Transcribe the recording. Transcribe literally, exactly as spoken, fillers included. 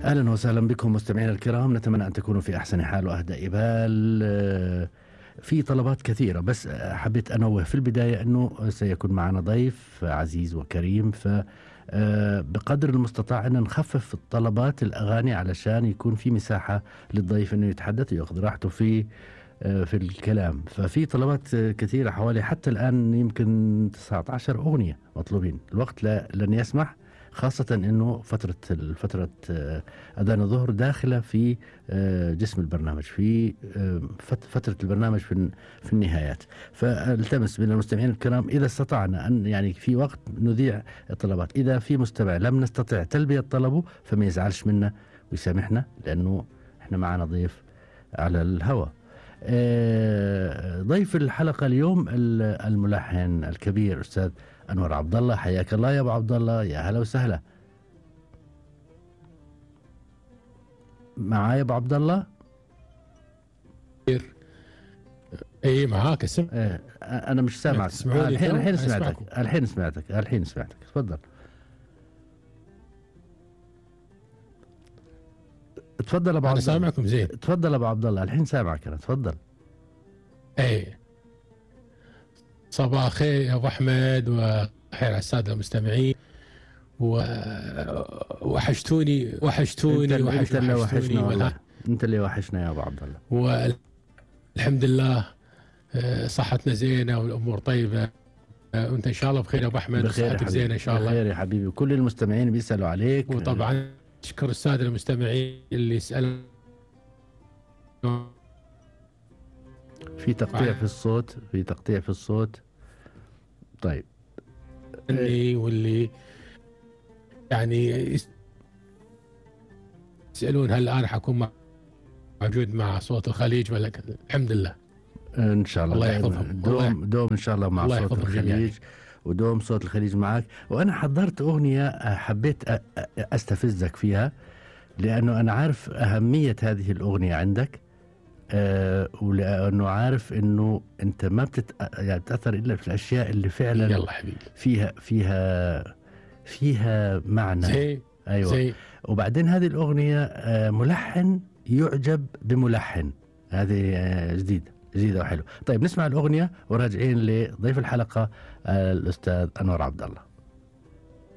أهلا وسهلا بكم مستمعينا الكرام، نتمنى أن تكونوا في أحسن حال وأهدى إبال. في طلبات كثيرة، بس حبيت أنوه في البداية أنه سيكون معنا ضيف عزيز وكريم، فبقدر المستطاع أن نخفف الطلبات الأغاني علشان يكون في مساحة للضيف أنه يتحدث ويأخذ راحته في في الكلام. ففي طلبات كثيرة حوالي حتى الآن يمكن تسعة عشر أغنية مطلوبين، الوقت لا لن يسمح، خاصة أنه فترة فترة أذان الظهر داخلة في جسم البرنامج، في فترة البرنامج في في النهايات. فالتمس من المستمعين الكرام إذا استطعنا أن يعني في وقت نذيع الطلبات، إذا في مستمع لم نستطع تلبية طلبه فما يزعلش منا ويسامحنا، لأنه إحنا معنا ضيف على الهواء. ضيف الحلقة اليوم الملحن الكبير أستاذ أنور عبد الله. حياك الله يا أبو عبد الله، يا هلا وسهلا. معايا أبو عبد الله؟ اي معاك اسم. إيه أنا مش سامعك. الحين الحين سمعتك الحين سمعتك الحين سمعتك تفضل. تفضل أبو عبد الله. أنا سامعكم زين. تفضل أبو عبد الله، الحين سامعك أنا، تفضل. اي صباح الخير يا أبو أحمد، وخير على السادة المستمعين، ووحشتوني وحشتوني انت, وحش انت اللي وحشنا وحشتوني والله، انت اللي وحشنا يا ابو عبد الله. والحمد لله صحتنا زينه والامور طيبه، وانت ان شاء الله بخير يا ابو احمد، صحتك زينه ان شاء الله. بخير يا حبيبي، وكل المستمعين بيسالوا عليك. وطبعا اشكر الساده المستمعين اللي يسالوا. في تقطيع في الصوت، في تقطيع في الصوت. طيب اللي واللي يعني يسألون هل أنا حكون موجود مع صوت الخليج ولا كذا. الحمد لله إن شاء الله. الله يحفظهم. دوم دوم إن شاء الله مع صوت الخليج جميع. ودوم صوت الخليج معك. وأنا حضرت أغنية حبيت أستفزك فيها، لأنه أنا عارف أهمية هذه الأغنية عندك، أه ولأنه عارف إنه أنت ما بتت... يعني بتأثر إلا في الأشياء اللي فعلا يلا حبيبي فيها فيها فيها معنى. زي أيوة زي. وبعدين هذه الأغنية أه ملحن يعجب بملحن، هذه أه جديدة جديدة وحلو. طيب نسمع الأغنية وراجعين لضيف الحلقة أه الأستاذ أنور عبد الله.